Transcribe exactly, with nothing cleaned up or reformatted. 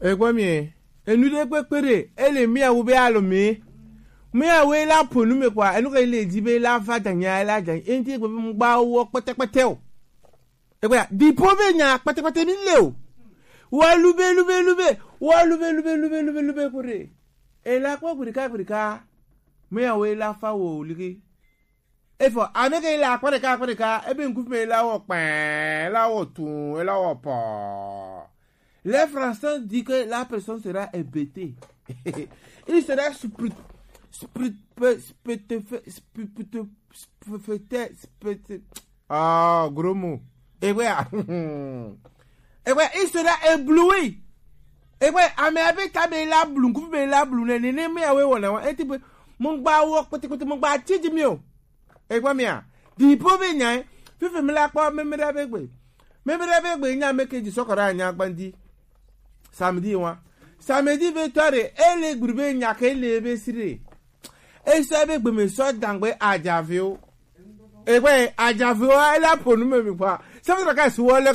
Egbɔ mi, enu ɖe kpekpe ɖe, ele miawo be alo mi. Miawo la ƒo nu me kɔa, enu ke le dzi be la va danya, la danya. Enti gbe be mu gba wo kpɛtɛkpɛtɛ o. Egbɔ ya, dipo be nya kpɛtɛkpɛtɛ mi le o. Wa lube, lube, lube, wa lube, lube, lube, lube, lube kore. Ela kpɔ gurika, gurika. Miawo la fa wo ligi. Efɔ, ame ke le akpa ɖeka, akpa ɖeka, ebe ŋku me la wɔ kpɛɛ, la wɔ tun, la wɔ pɔ. Les Français dit que la personne sera hébétée. Il sera sprit, sprit, sprit, sprit, sprit, sprit, ah, gros mot. Egbɔ ya. Egbɔ, il sera ébloui. Egbɔ, ame abe ta be la blu, ŋku be la blu ne, ne, ne, me awe wɔ na wa. Eti be, mo gba wo kpɛtɛkpɛtɛ, mo gba tsi dzi mi o. Egbɔ mia, dipo be nya, fifi mi la kpɔ, me, me da be gbe. Me, me da be gbe, nya me ke dzi sɔkɔ ɖe anya gbandi. Samedi wa. Samedi be tɔ ɖe, ele gbe be nya ke le be si ɖe. Esɔ be gbe me sɔ dangbe ajaviwo. Egbɔ ajaviwo, ele aƒo nu me mi kpɔ. Sɛfɛ ɖeka si wɔ le